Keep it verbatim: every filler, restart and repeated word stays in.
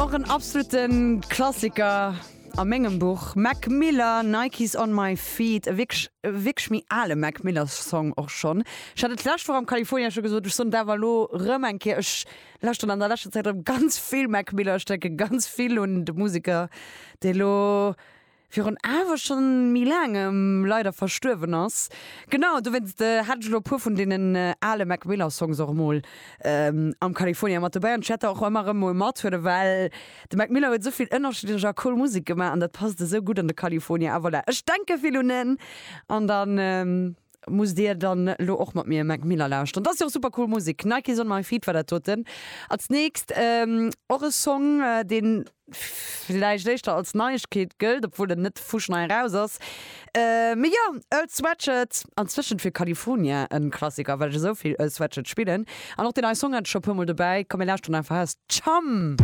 Och en absoluten Klassiker a mengem Buch. Mac Miller, Nikes on my feet. E wierklech, wierklech méi ale Mac Miller Song och schonn. Ech hat et d'lescht Woch am California scho gesot, ech soen et awer elo rëm eng Kéier, ech lauschteren an der leschter Zäit rëm ganz vill Mac Miller. Ech denke ganz vill un de Museker, dee lo virun awer schonn méi laangem leider verstuerwen ass. Genau, dowéinst hat ech elo e puer vun deenen ale Mac Miller Songs och emol am California mat dobäi. An ech wäert der och ëmmer erëm mol mathuelen, well de Mac Miller huet esou vill ënnerschiddlech a cool Musek gemaach an dat passt esou gutt an de California. A voilà, ech denke vill un en an dann musst dir dann elo och mat mir Mac Miller lauschteren. Dat ass jo och super cool Musek. Nikes on my feet war dat doten. Als nächst och e Song, deen villäicht éischter als Neiegkeet gëllt, obwuel en net fuschnei eraus ass. Mee jo, Earl Sweatshirt, anzwëschent fir California en Klassiker, well ech esou vill Earl Sweatshirt spillen. An och deen neie Song hat ech scho puer mol dobäi. Komm mir lauschteren einfach aus, Chum!